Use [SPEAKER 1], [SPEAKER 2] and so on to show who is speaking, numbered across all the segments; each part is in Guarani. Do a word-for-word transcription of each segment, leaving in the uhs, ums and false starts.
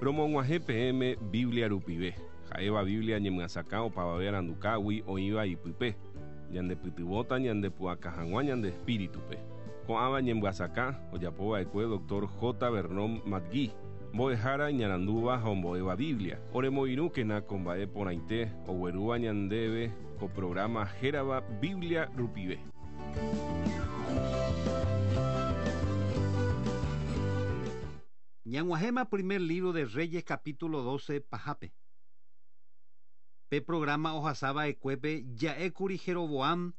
[SPEAKER 1] Romog̃uahẽ peẽme Biblia rupive. Ha'éva Biblia ñemyasakã opavave arandukágui oĩva ipype. Ñandepytyvõta ñandepu'aka hag̃ua ñande espíritupe. Ko'ãva ñemyasakã ojapova'ekue doctor J. Vernon McGee. Mbo'ehára iñarandúva ha ombo'éva Biblia. Oremoirũkena ko mba'e porãite oguerúva ñandéve ko programa hérava Biblia rupive.
[SPEAKER 2] Ñag̃uahẽma primer libro de Reyes capítulo doce pahápe. Pe programa ohasava'ekuépe ja'ékuri Jeroboam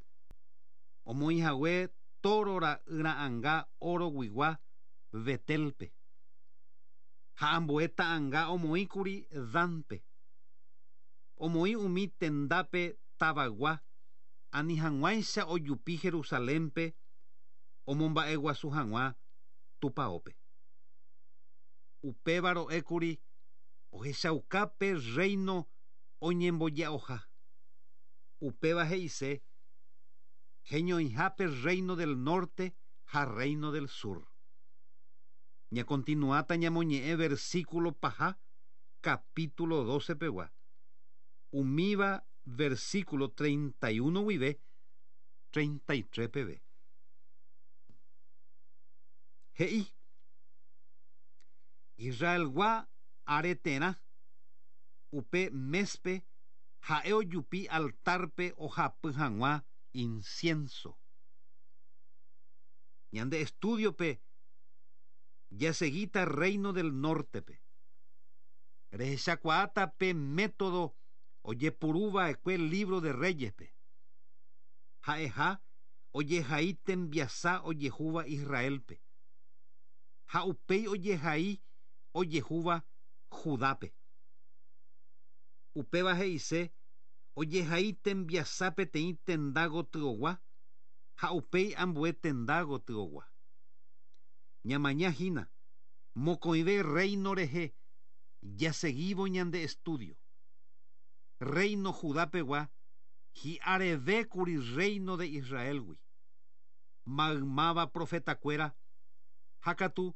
[SPEAKER 2] omoĩhague toro ra'yra'ãnga oroguigua Betelpe. Ha ambue ta'ãnga omoĩkuri Danpe. Omoĩ umi tendápe tavaygua ani hag̃uáicha ojupi Jerusalénpe omomba'eguasu hag̃ua tupãópe. Upéva ro'ékuri ohechaukápe reino oñemboja'oha. Upéva he'ise heñoihápe reino del norte ha reino del sur. Ñakontinuáta ñamoñe'ẽ versículo paha capítulo doce pegua. Umíva versículo treinta y uno guive treinta y tres peve. He'i Israelgua areterã upe mespe ha'e ojupi altarpe ohapy hag̃ua incienso. Ñande estudiope jaseguita reino del nortepe. Rehechakuaáta pe método ojepuruva'ekue libro de Reyespe. Ha'eha ojehai tembiasa ojehúva Israelpe. Ha upéi ojehai ojehúva Judápe. Upéva he'ise ojehai tembiasa peteĩ tenda gotyogua ha upéi ambue tenda gotyogua. Ñamaña hína mokõive reino rehe jaseguívo ñande estudio. Reino Judapegua hi'arevékuri reino de Israelgui. Maymáva profetakuéra ha katu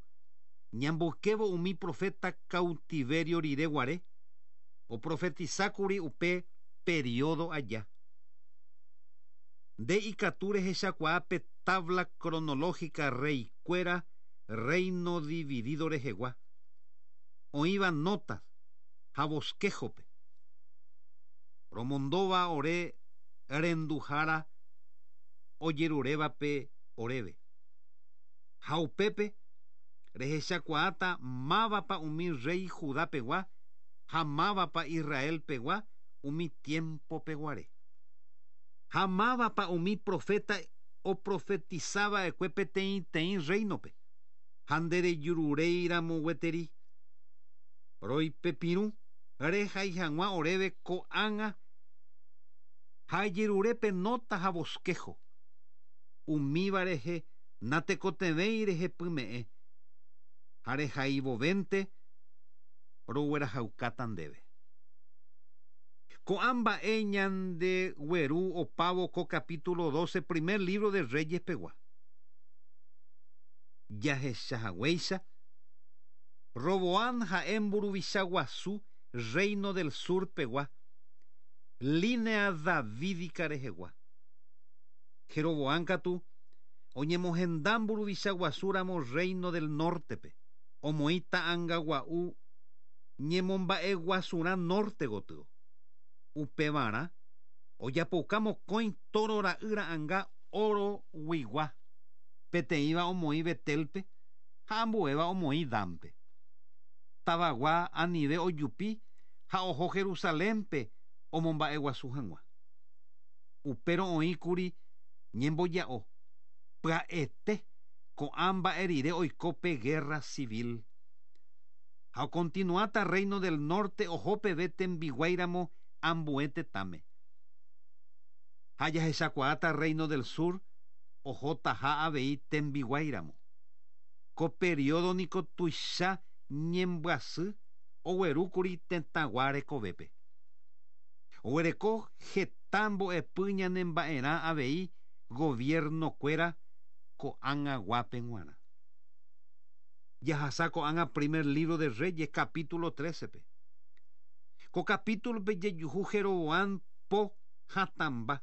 [SPEAKER 2] ñamboykévo umi profeta cautiverio rire guare oprofetizákuri upe periodo aja. Nde ikatu rehechakuaa pe tabla cronológica reykuéra reino dividido rehegua. Oĩva notas ha bosquejope. Romondóva ore renduhára ojerurévape oréve. Ha upépe rehechakuaáta mávapa umi rey Judapegua ha mávapa Israelpegua umi tiempo peguare. Ha mávapa umi profeta oprofetizava'ekue peteĩteĩ reinope. Ha nderejururéiramo gueteri. Roipepirũ rehai hag̃ua oréve ko'ág̃a ha ejerurépe nota ha bosquejo. Umíva rehe natekotevẽi rehepyme'ẽ ha rehaivovénte roguerahaukáta ndéve. Ko'ã mba'e ñandegueru opávo ko capítulo doce primer libro de Reyes pegua. Jahechahaguéicha Roboam ha'e mburuvicha guasu reino del sur pegua línea davídica rehegua. Jeroboam katu oñemohenda mburuvicha guasúramo reino del nortepe omoĩ ta'ãnga gua'u ñemomba'eguasurã norte gotyo. Upevarã ojapouka mokõi toro ra'yra'ãnga oroguigua. Peteĩva omoĩ Betelpe ha ambuéva omoĩ Danpe. Tavagua anive ojupi ha oho Jerusalénpe omomba'eguasu hag̃ua. Upérõ oĩkuri ñemboja'o pya'ete ko'ã mba'e rire oiko pe guerra civil. Ha okontinuáta reino del norte oho peve tembiguáiramo ambue tetãme. Ha jahechakuaáta reino del sur ohotaha avei tembiguáiramo. Ko periodo niko tuicha ñembyasy oguerúkuri tetãgua rekovépe. Oguereko heta mbo'epy ñanemba'erã avei gobiernokuéra ko'ág̃aguápe g̃uarã. Jahasa ko'ág̃a primer libro de Reyes capítulo trece pe. Ko capítulo pe jejuhu Jeroboam po hatãmba.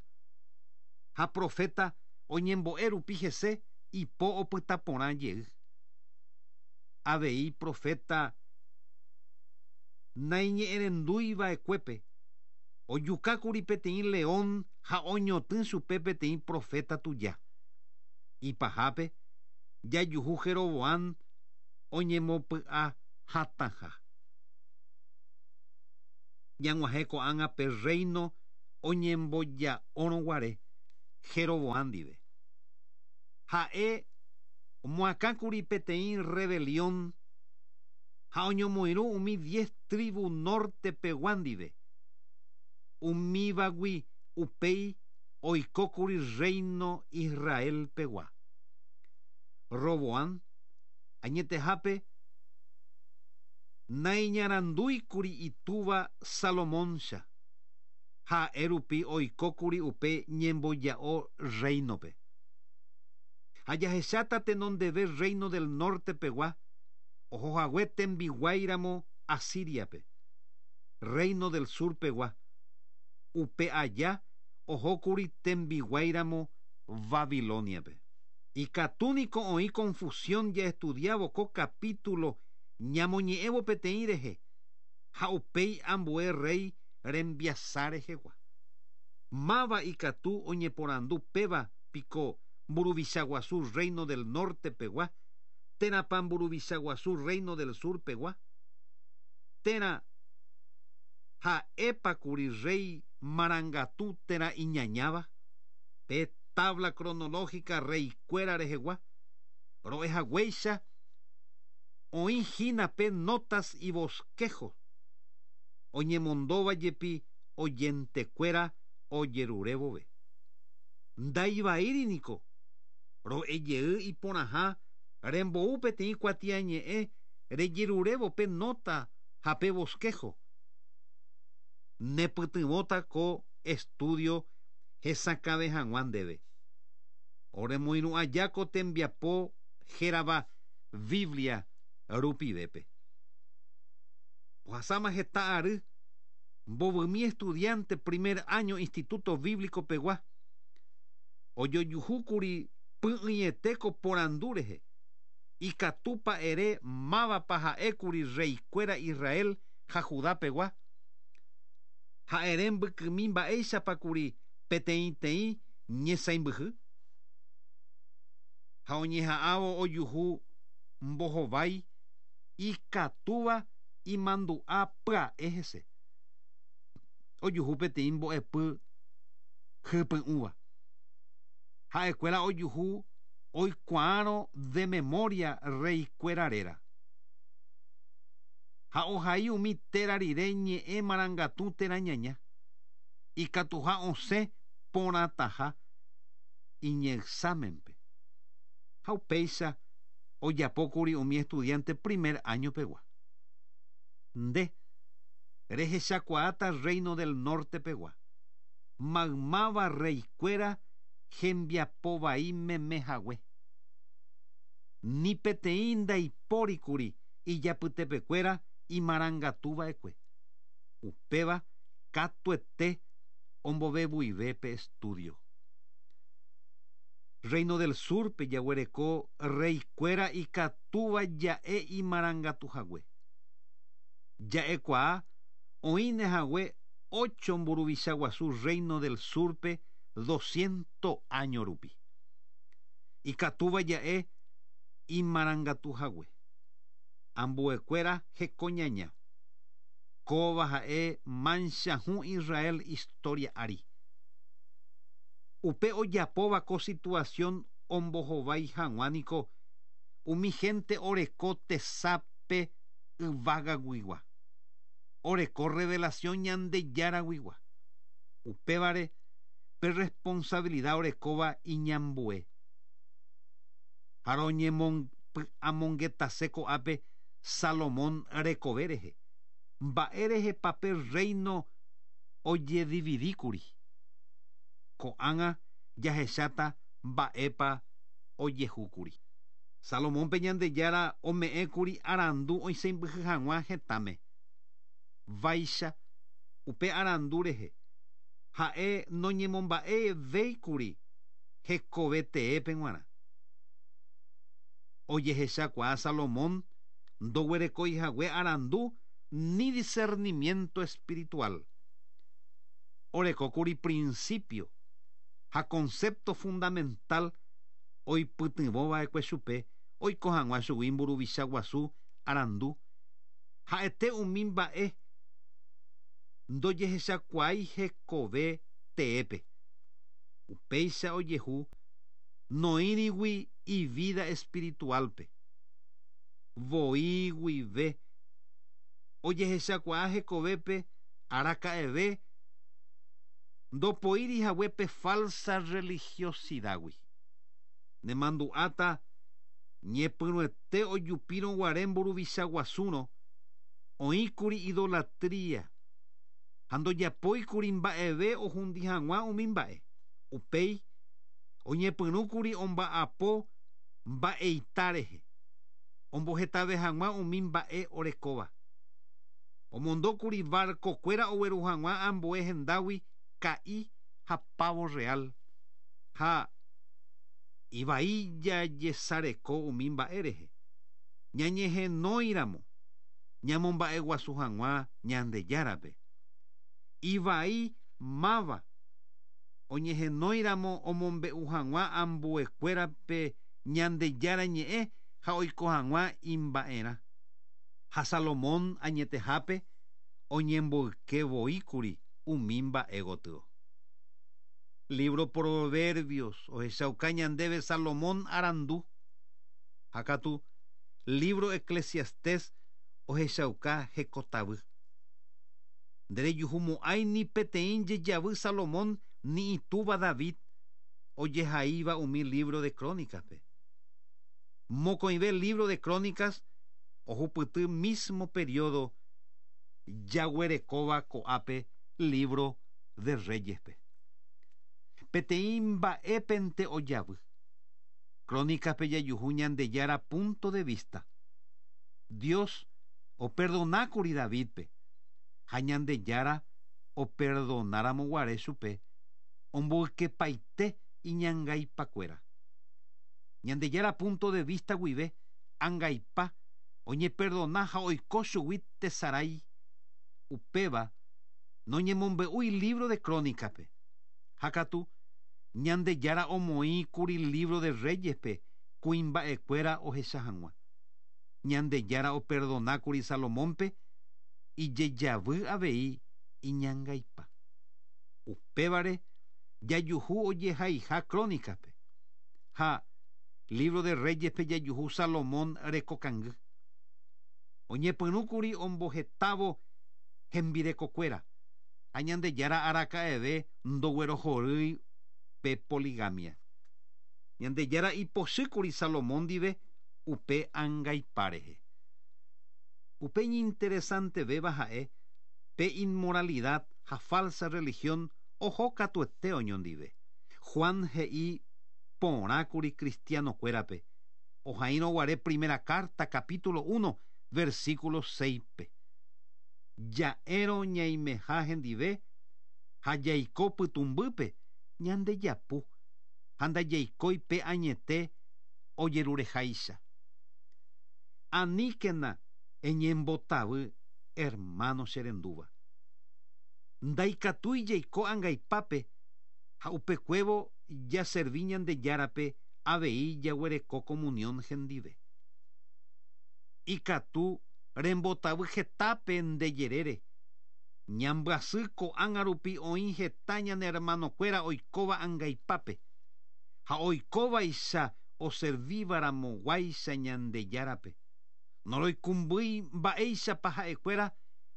[SPEAKER 2] Ha profeta oñembo'e rupi hese ipo opyta porã jey. Avei profeta naiñe'ẽrenduiva'ekuépe ojukákuri peteĩ león ha oñotỹ chupe peteĩ profeta tuja. Ipahápe jajuhu Jeroboam oñemopy'a hatãha. Ñag̃uahẽ ko'ág̃a pe reino oñemboja'órõguare Jeroboam ndive. Ha'e omoakãkuri peteĩ rebelión ha oñomoirũ umi diez tribu norte pegua ndive. Umívagui upéi oikókuri reino Israel pegua. Roboam añetehápe naiñarandúikuri itúva Salomóncha. Ha'e rupi oikókuri upe ñemboja'o reinope. Ha jahecháta tenondeve reino del norte pegua ohohague tembiguáiramo Asiriape. Reino del sur pegua upe aja ohókuri tembiguáiramo Babiloniape. Ikatúniko oĩ confusión jaestudiávo ko capítulo ñamoñe'ẽvo peteĩ rehe ha upéi ambue rey rembiasa rehegua. Máva ikatu oñeporandu péva piko mburuvicha guasu reino del norte pegua térãpa mburuvicha guasu reino del sur pegua térã ha'épakuri rey marangatu térã iñañáva. Pe tabla cronológica reykuéra rehegua ro'ehaguéicha oĩhína pe notas y bosquejos oñemondóva jepi oyentekuéra ojerurevove. Ndaivaíriniko ro'ejey iporãha rembou peteĩ kuatiañe'ẽ rejerurévo pe nota ha pe bosquejo. Nepytyvõta ko estudio hesakãve hag̃ua ndéve. Oremoirũ aja ko tembiapo hérava Biblia rupivépe. Ohasáma heta ary mbovymi estudiante primer año Instituto Bíblico pegua ojojuhúkuri py'ỹiete ko porandu rehe. Ikatúpa ere mávapa ha'ékuri reykuéra Israel ha Judá pegua. Ha ere mbykymi mba'éichapakuri peteĩteĩ ñesãimbyhy. Ha oñeha'ãvo ojuhu mbohovái ikatúva imandu'a pya'e hese. Ojuhu peteĩ mbo'epy hypy'ũva. Ha'ekuéra ojuhu oikuaárõ de memoria reykuéra réra. Ha ohai umi téra rire ñe'ẽ marangatu térã ñaña. Ikatuha osẽ porãtaha iñexámenpe. Ha upéicha ojapókuri umi estudiante primer año pegua. Nde rehechakuaáta reino del norte pegua. Maymáva reykuéra hembiapovai meme hague. Ni peteĩ ndaipórikuri ijapytepekuéra imarangatuva'ekue. Upéva katuete ombovevuive pe estudio. Reino del sur pe jaguereko reykuéra ikatúva ja'e imarangatuhague. Ja'ekuaa oĩne hague ocho mburuvicha guasu reino del sur pe doscientos año rupi. Ikatúva ja'e imarangatuhague. Ambuekuéra hekoñaña. Kóva ha'e mancha hũ Israel historia ári. Upe ojapóva ko situación ombohovái hag̃ua niko umi gente oreko tesape yvágaguigua. Oreko revelación Ñandejáraguigua. Upévare pe responsabilidad orekóva iñambue. Ha roñemopy'amongetase ko'ápe Salomón rekove rehe. Mba'e rehepa pe reino ojedividíkuri. Ko'ág̃a jahecháta mba'épa ojehúkuri. Salomónpe Ñandejára ome'ẽkuri arandu oisãmbyhy hag̃ua hetãme. Vaicha upe arandu rehe ha'e noñemomba'evéikuri hekoveteépe g̃uarã. Ojehechakuaa Salomón ndoguerekoihague arandu ni discernimiento espiritual. Orekókuri principio ha concepto fundamental oipytyvõva'ekue chupe oiko hag̃ua chugui mburuvicha guasu arandu ha'ete umi mba'e ndojehechakuaái hekove teépe. Upéicha ojehu noĩrigui ivida espiritualpe. Voi guive ojehechakuaa hekovépe araka'eve ndopoírihaguépe falsa religiosidad-gui. Nemandu'áta ñepyrũete ojupírõguare mburuvicha guasúrõ oĩkuri idolatría ha ndojapóikuri mba'eve ohundi hag̃ua umi mba'e. Upéi oñepyrũkuri omba'apo mba'eita rehe ombohetave hag̃ua umi mba'e orekóva. Omondókuri barcokuéra ogueru hag̃ua ambue hendágui ka'i ha pavo real ha ivai jajesareko umi mba'e rehe. Ñañehenóiramo ñamomba'eguasu hag̃ua Ñandejárape. Ivai máva oñehenóiramo omombe'u hag̃ua ambuekuérape Ñandejára ñe'ẽ ha oiko hag̃ua imba'erã. Ha Salomón añetehápe oñemboykevoíkuri umi mba'e gotyo. Libro Proverbios ohechauka ñandéve Salomón arandu. Ha katu libro Eclesiastés ohechauka hekotavy. Nderejuhumo'ãi ni peteĩ jejavy Salomón ni itúva David ojehaíva umi libro de Crónicaspe. Mokõive libro de Crónicas ohupyty mismo periodo jaguerekóva ko'ápe libro de Reyespe. Peteĩ mba'épente ojavy. Crónicaspe jajuhu Ñandejára punto de vista. Dios operdonákuri Davidpe ha Ñandejára operdonáramo chupe omboykepaite iñangaipakuéra. Ñandejára punto de vista guive angaipa oñeperdona ha oiko chugui tesarái. Upéva noñemombe'úi libro de Crónicaspe. Ha katu Ñandejára omoĩkuri libro de Reyespe kuimba'ekuéra ohecha hag̃ua. Ñandejára operdonákuri Salomónpe ijejavy avei iñangaipa. Upévare jajuhu ojehaiha Crónicaspe. Ha libro de Reyespe jajuhu Salomón rekokangy. Oñepyrũkuri ombohetávo hembirekokuéra ha Ñandejára araka'eve ndoguerohorýi pe poligamia. Ñandejára ipochýkuri Salomón ndive upe angaipa rehe. Upe iñinteresantevéva ha'e pe inmoralidad ha falsa religión oho katuete oñondive. Juan he'i porãkuri cristianokuérape ohaírõguare primera carta capítulo uno versículo seis-pe. Ja'érõ ñaimeha hendive ha jaiko pytũmbýpe ñandejapu ha ndajaikói pe añete ojerureháicha. Aníkena eñembotavy hermano cherendúva. Ndaikatúi jaiko angaipápe ha upekuévo jaservi Ñandejárape avei jaguereko comunión hendive. Ikatu rembotavy hetápe ndejerére. Ñambyasy ko'ág̃a rupi oĩ heta ñane hermanokuéra oikóva angaipápe ha oikóvaicha oservívaramoguáicha Ñandejárape. Noroikumbýi mba'éichapa ha'ekuéra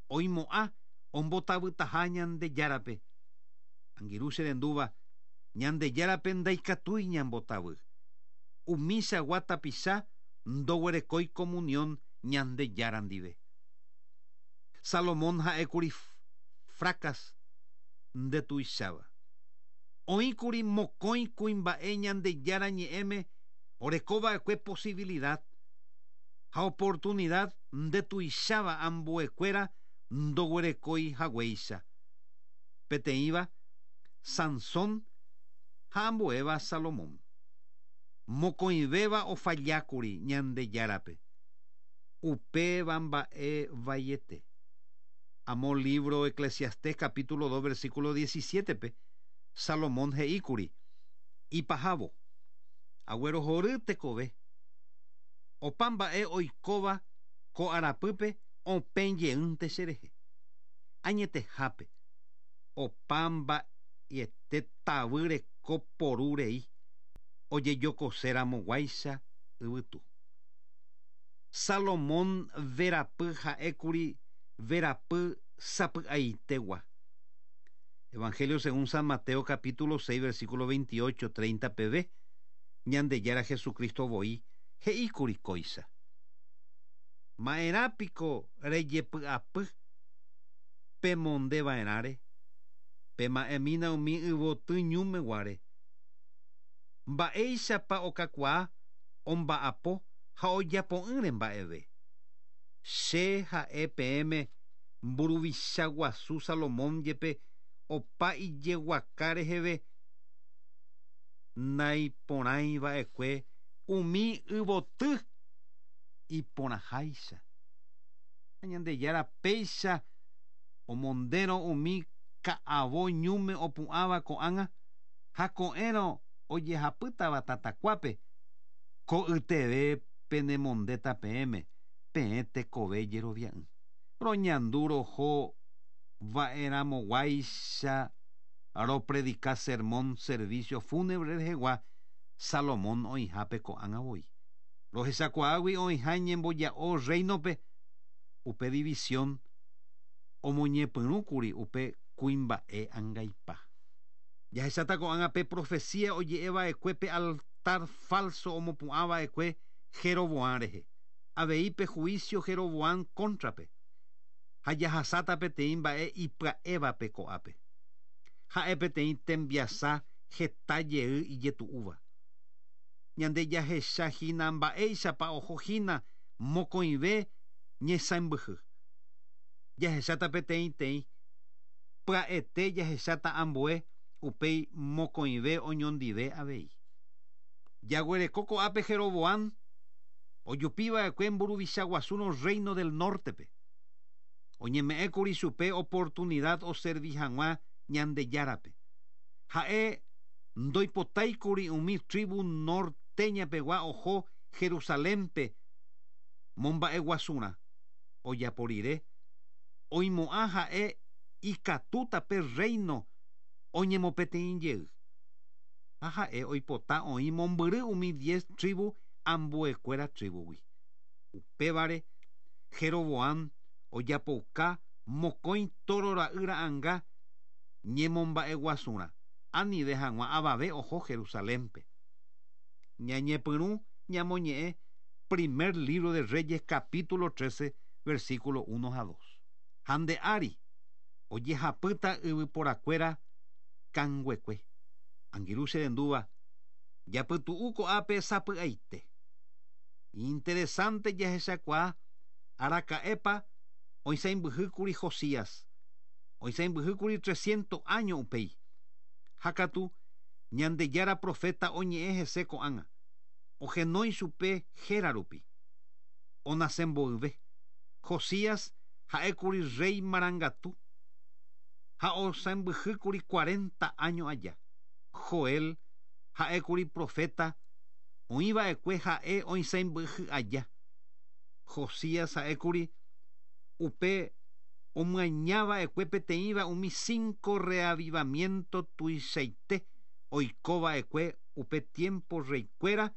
[SPEAKER 2] oimo'ã ombotavytaha Ñandejárape. Angirũ cherendúva Ñandejárape ndaikatúi ñambotavy. Umichagua tapicha ndoguerekói comunión Ñandejára ndive. Salomón ha'ékuri fracas ndetuicháva. Oĩkuri mokõi kuimba'e Ñandejára ñe'ẽme Orekova'ekue posibilidad ha oportunidad ndetuicháva ambuekuéra ndoguerekói haguéicha. Peteĩva Sansón ha ambuéva Salomón. Mokõivéva ofallákuri Ñandejárape. Upéva mba'e vaiete. Amo libro Eclesiastés capítulo dos versículo diecisiete-pe Salomón he'íkuri ipahávo aguerohory tekove opa mba'e oikóva ko arapýpe opẽ jeýnte cherehe. Añetehápe opa mba'ete tavy reko poru rei ojejokoseramoguáicha yvytu. Salomón verapy ha'ékuri verapy sapy'aitegua. Evangelio según San Mateo capítulo seis versículo veintiocho treinta peve Ñandejára Jesucristo voi he'íkuri kóicha. Ma'erãpiko rejepy'apy pemondeva'erãre pema'ẽmína umi yvoty ñúmeguare. Mba'éichapa okakuaa omba'apo ha ojapo'ỹre mba'eve. Che ha'e peẽme mburuvicha guasu Salomón jepe opa ijeguaka reheve naiporãiva'ekue umi yvoty iporãháicha. Ñandejára péicha omondérõ umi ka'avo ñúme opu'ãva ko'ág̃a ha ko'ẽrõ ojehapýtava tatakuápe ko'yteve penemondéta peẽme peẽ tekove jerovia'ỹ. Roñandu roho va'erãmoguáicha ropredica sermón servicio fúnebre rehegua Salomón oĩhápe ko'ág̃a voi. Rohechakuaágui oĩha ñemboja'o reino-pe upe división omoñepyrũkuri upe kuimba'e angaipa. Jahecháta ko'ág̃a pe profecía oje'eva'ekue pe altar falso omopu'ãva'ekue Jeroboam rehe. Avei pe juicio Jeroboam contrape. Ha jahasáta peteĩ mba'e ipya'évape ko'ápe. Ha'e peteĩ tembiasa heta jey ijetu'úva. Ñande jahechahína mba'éichapa ohohína mokõive ñesãmbyhy. Jahecháta peteĩteĩ pya'ete jahecháta ambue upéi mokõive oñondive avei. Jaguereko ko'ápe Jeroboam ojupiva'ekue mburuvicha guasúrõ reino del norte-pe. Oñeme'ẽkuri chupe oportunidad oservi hag̃ua Ñandejárape. Ha'e ndoipotáikuri umi tribu norteñapegua oho Jerusalénpe momba'eguasurã. Ojapo rire oimo'ã ha'e ikatúta pe reino oñemopeteĩ jey. Ha ha'e oipota oĩ mombyry umi diez tribu ambuekuéra tribugui. Upévare Jeroboam ojapouka mokõi toro ra'y ra'ãnga ñemomba'eguasurã anive hag̃ua avave oho Jerusalénpe. Ñañepyrũ ñamoñe'ẽ primer libro de Reyes capítulo trece versículo uno a dos. Ha nde ári ojehapýta yvyporakuéra kanguekue. Angirũ cherendúva japytu'u ko'ápe sapy'aite. Interesante jahechakuaa araka'épa oisãmbyhýkuri Josías. Oisãmbyhýkuri trescientos años upéi. Ha katu Ñandejára profeta oñe'ẽ hese ko'ág̃a. Ohenói chupe héra rupi. Onasemboyve. Josías ha'ékuri rey marangatu ha osãmbyhýkuri cuarenta años aja. Joel ha'ékuri profeta oĩva'ekue ha'e oisãmbyhy aja. Josías ha'ékuri upe omyañava'ekue peteĩva umi cinco reavivamiento tuichaite oikova'ekue upe tiempo reykuéra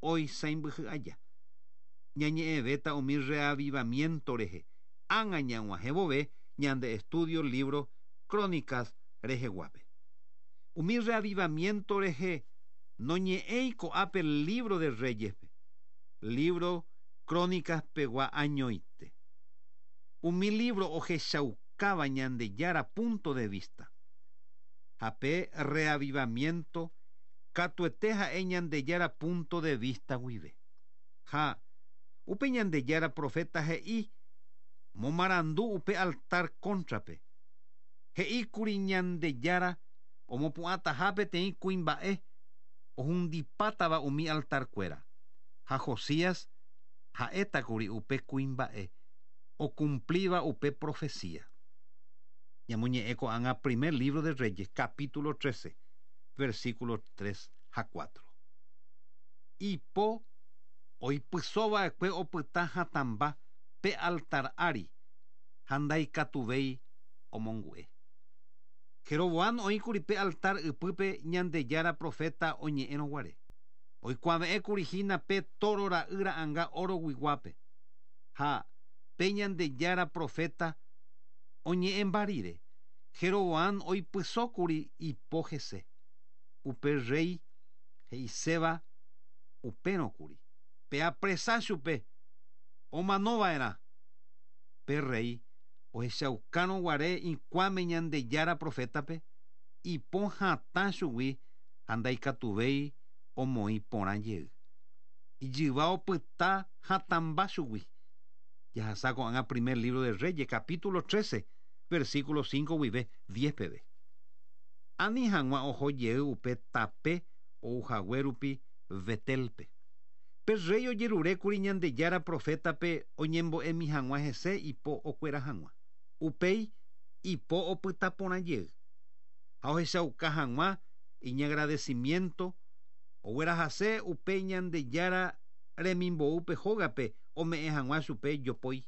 [SPEAKER 2] oisãmbyhy aja. Ñañe'ẽvéta umi reavivamiento rehe ág̃a ñag̃uahẽ vove ñande estudio libro Crónicas reheguápe. Umi reavivamiento rehe noñe'ẽi ko'ápe libro de Reyespe, libro Crónicas pegua añoite. Umi libro ohechaukáva Ñandejára punto de vista. Ha pe reavivamiento Katuete ha'e Ñandejára punto de vista guive. Ha upe Ñandejára profeta he'i momarandu upe altar cóntrape. He'íkuri Ñandejára omopu'ãtaha peteĩ kuimba'e ohundipátava umi altarkuéra. Ha Josías ha'étakuri upe kuimba'e ocumplíva upe profecía. Ñamoñe'ẽ ko'ág̃a primer libro de Reyes, capítulo trece, versículo tres ha cuatro. Ipo oipysóva'ekue opyta hatãmba pe altar ári ha ndaikatuvéi omongu'e. Jeroboam oĩkuri pe altar ypýpe Ñandejára profeta oñe'ẽrõguare. Oikuave'ẽkuri hína pe toro ra'y ra'ãnga oroguiguápe. Ha pe Ñandejára profeta oñe'ẽmba rire, Jeroboam oipysókuri ipo hese. Upe rey he'iséva upérõkuri. Pe apresa chupe omanova'erã. Pe rey ohechaukárõguare ikuãme Ñandejára profétape ipo hatã chugui ha ndaikatuvéi omoĩ porã jey. Ijyva opyta hatãmba chugui. Jahasa ko'ág̃a primer libro de Reyes, capítulo trece, versículo cinco guive diez peve. Ani hag̃ua oho jey upe tape ouhague rupi Betelpe. Pe rey ojerurékuri Ñandejára profétape oñembo'emi hag̃ua hese ipo okuera hag̃ua. Upéi ipo opyta porã jey. Ha ohechauka hag̃ua iñagradecimiento oguerahase upe Ñandejára remimboúpe hógape ome'ẽ hag̃ua chupe jopói.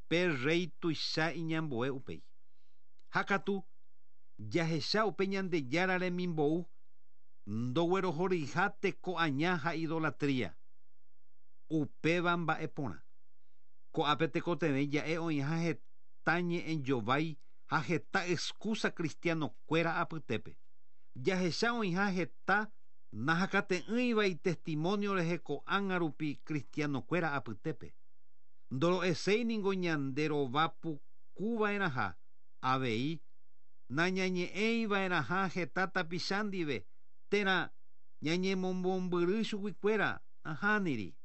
[SPEAKER 2] Pe rey tuicha iñambue upéi. Ha katu jahecha upe Ñandejára remimbou ndoguerohoryha teko aña ha idolatría. Upéva mba'e porã. Ko'ápe tekotevẽ ja'e oĩha heta ñe'ẽjovái ha heta excusa cristianokuéra apytépe. Jahecha oĩha heta nahakate'ỹiva itestimonio rehe ko'ág̃a rupi cristianokuéra apytépe. Ndoro'eséi ningo ñanderovapukuva'erãha avei nañañe'ẽiva'erãha heta tapicha ndive térã ñañemomombyry chuguikuéra ahániri.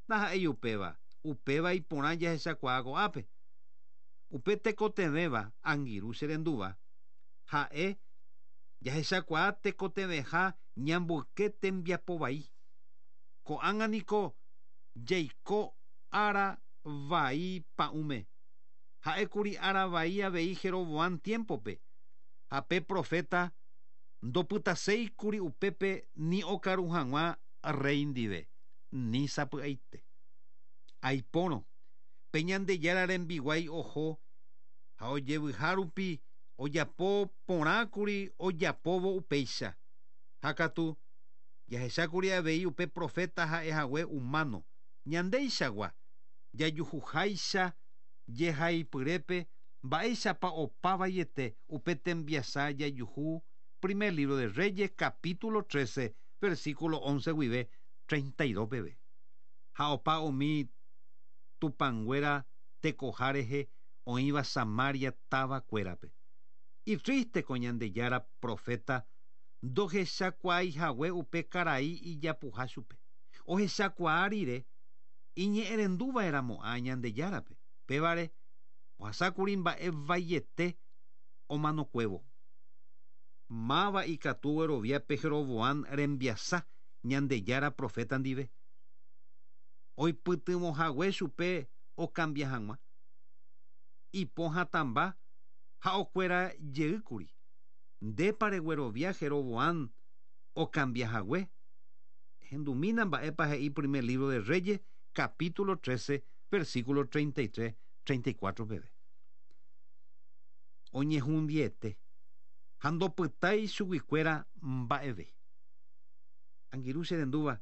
[SPEAKER 2] Ndaha'éi upéva, upéva iporã jahechakuaa ko'ápe. Upe tekotevẽva angirũ che rendúva ha'e jahechakuaa tekotevẽha ñamboyke tembiapo vai. Ko'ág̃a niko jaiko ára vai pa'ũme. Ha'ékuri ára vai avei Jeroboam tiempope. Ha pe profeta ndopytaséikuri upépe ni okaru hag̃ua rey ndive, ni sapy'aite. Aipórõ pe Ñandejára rembiguái oho ha ojevyha rupi ojapo porãkuri ojapóvo upéicha. Ha katu jahechákuri avei upe profeta ha'ehague humano ñandeichagua jajuhuháicha jehaipyrépe mba'éichapa opavaiete upe tembiasa jajuhu primer libro de Reyes capítulo trece versículo once guive treinta y dos peve. Ha opa umi tupãnguéra tekoha rehe oĩva Samaria távakuérape. Itriste ko Ñandejára profeta ndohechakuaaihague upe karai ijapuha chupe. Ohechakuaa rire iñe'ẽrenduva'erãmo'ã Ñandejárape. Pévare ohasákuri mba'e vaiete omanokuévo. Máva ikatu guerovia pe Jeroboam rembiasa Ñandejára profeta ndive. Oipytyvõhague chupe okambia hag̃ua. Ipo hatãmba ha okuera jeýkuri. Ndépa reguerovia Jeroboam okambiahague. Hendumína mba'épa he'i primer libro de Reyes, capítulo trece, versículo treinta y tres, treinta y cuatro peve. Oñehundiete ha ndopytái chuguikuéra mba'eve. Angirũ che rendúva,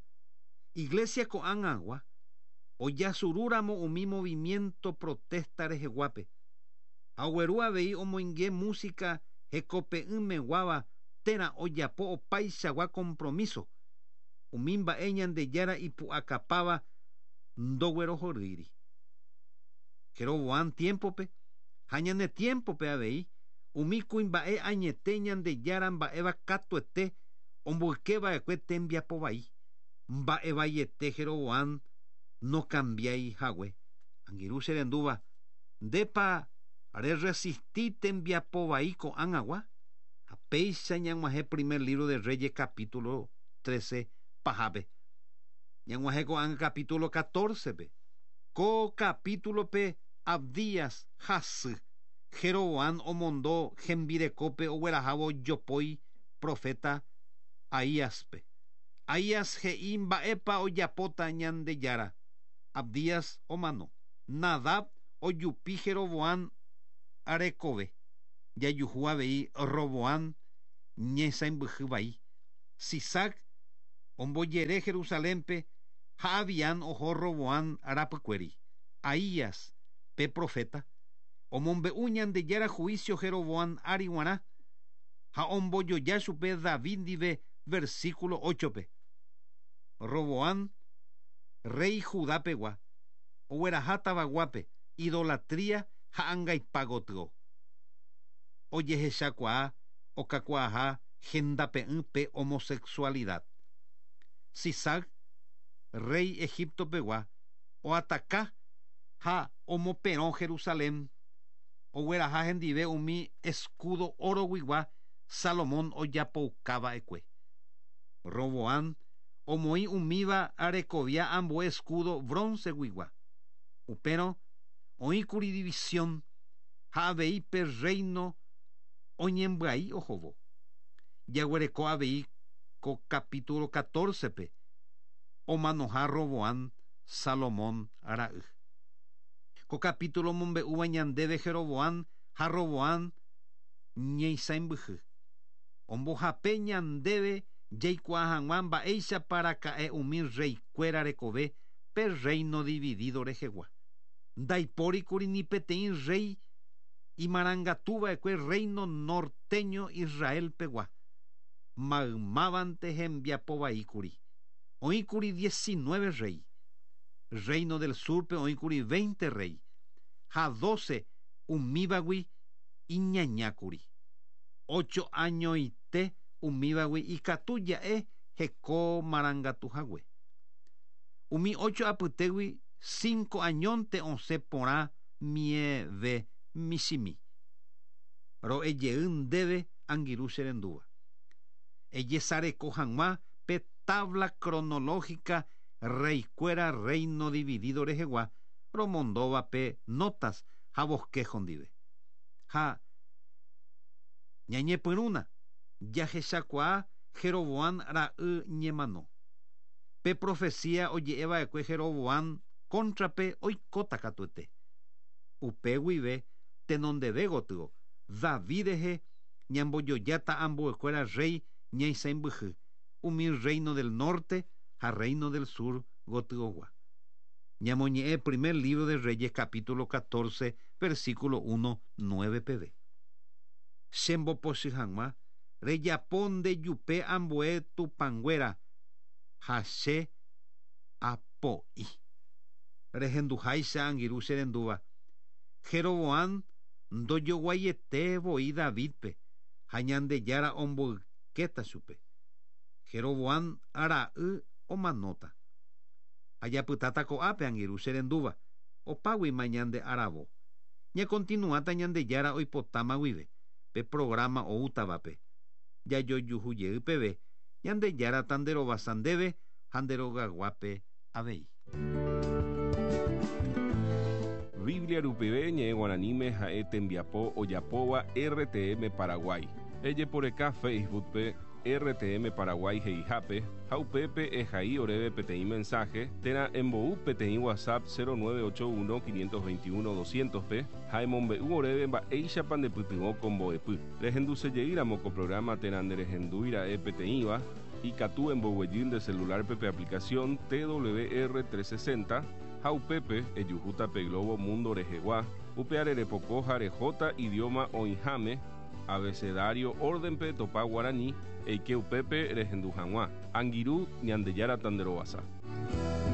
[SPEAKER 2] iglesia ko'ág̃agua ojasurúramo umi movimiento protesta reheguápe. Ha ogueru avei omoinge música hekope'ỹmeguáva térã ojapo opaichagua compromiso. Umi mba'e Ñandejára ipu'akapáva ndoguerohorýiri. Jeroboam tiempope ha ñane tiempope avei umi kuimba'e añete Ñandejára mba'éva katuete Omboykeva'ekue tembiapo vai. Mba'evaiete Jeroboam no cambiai hague. Angirũ che rendúva, ndépa re-resisti tembiapo vai ko'ág̃agua? Ha péicha ñag̃uahẽ primer libro de Reyes capítulo trece pahápe. Ñag̃uahẽ ko'ág̃a capítulo catorce-pe. Ko capítulo-pe Abdías hasy. Jeroboam omondo hembirekópe oguerahávo jopói profeta Ahíaspe. Ahías he'i mba'épa ojapóta Ñandejára. Abdías omano. Nadab ojupi Jeroboam arekove. Jajuhu avei Roboam ñesãmbyhy vai. Sisac ombojere Jerusalénpe ha Abiam oho Roboam rapykuéri. Ahías, pe profeta, omombe'u Ñandejára juicio Jeroboam ári g̃uarã ha ombojoja chupe David ndive versículo ocho-pe. Roboam, rey Judapegua, ogueraha tavaguápe idolatría ha angaipa gotyo. Ojehechakuaa okakuaaha hendape'ỹ pe homosexualidad. Sisac, rey Egiptopegua, oataka ha omoperõ Jerusalén, ogueraha hendive umi escudo oroguigua Salomón ojapoukava'ekue. Roboam omoĩ umíva arekovia ambue escudo bronceguigua. Upérõ oĩkuri división ha avei pe reino oñembyai ohóvo. Jaguereko avei ko capítulo catorce-pe omanoha Roboam Salomón ra'y. Ko capítulo omombe'úva ñandéve Jeroboam ha Roboam ñeisãmbyhy. Ombohape ñandéve jaikuaa hag̃ua mba'éichapa raka'e umi reykuéra rekove pe reino dividido rehegua. Ndaipórikuri ni peteĩ rey imarangatuva'ekue reino norteño Israelpegua. Maymávante hembiapo vaíkuri. Oĩkuri diecinueve rey. Reino del surpe oĩkuri veinte rey. Ha doce umívagui iñañákuri. Ocho añoite umívagui ikatu ja'e heko marangatu hague. Umi ocho apytégui cinco añónte osẽ porã mieve michĩmi. Ro'ejey ndéve angirũ che rendúva. Ejesareko hag̃ua pe tabla cronológica reykuéra reino dividido rehegua romondóva pe notas ha bosquejo ndive. Ha ñañepyrũna jahechakuaa Jeroboam ra'y ñemano. Pe profecía oje'eva'ekue Jeroboam cóntrape oikóta katuete. Upe guive tenondeve gotyo David rehe ñambojojáta ambuekuéra rey ñaisãmbyhy umi reino del norte ha reino del sur gotyogua. Ñamoñe'ẽ primer libro de Reyes capítulo catorce versículo uno nueve peve. Chembopochy hag̃ua rejapo ndejupe ambue tupãnguéra ha che apo'i. Rehenduháicha angirũ che rendúva. Jeroboam ndojoguaiete voi Davidpe ha Ñandejára omboykéta chupe. Jeroboam ra'y omanóta. Ajapytáta ko'ápe angirũ che rendúva. Opáguima ñande aravo. Ñakontinuáta Ñandejára oipotáma guive pe programa oútavape. Jajojuhu peve Ñandejára tanderovasa ndéve ha nderogaguápe avei.
[SPEAKER 1] Biblia rupive ñe'ẽ guaraníme ha'e tembiapo ojapóva R T M Paraguay. Ejeporeka Facebook-pe R T M Paraguay he'ihápe ha upépe ehai oréve peteĩ mensaje térã embou peteĩ WhatsApp cero nueve ocho uno quinientos veintiuno doscientos-pe ha emombe'u oréve mba'éichapa ndepytyvõ ko mbo'epy. Rehendusejeýramo ko programa térã nderehendúira'e peteĩva ikatu emboguejy nde celular-pe pe aplicación T W R trescientos sesenta ha upépe ejuhúta pe Globo Mundo rehegua upe arerepoko ha rehóta idioma oĩháme abecedario orden-pe topa guarani eike upépe rehendu hag̃ua. Angirũ Ñandejára tanderovasa.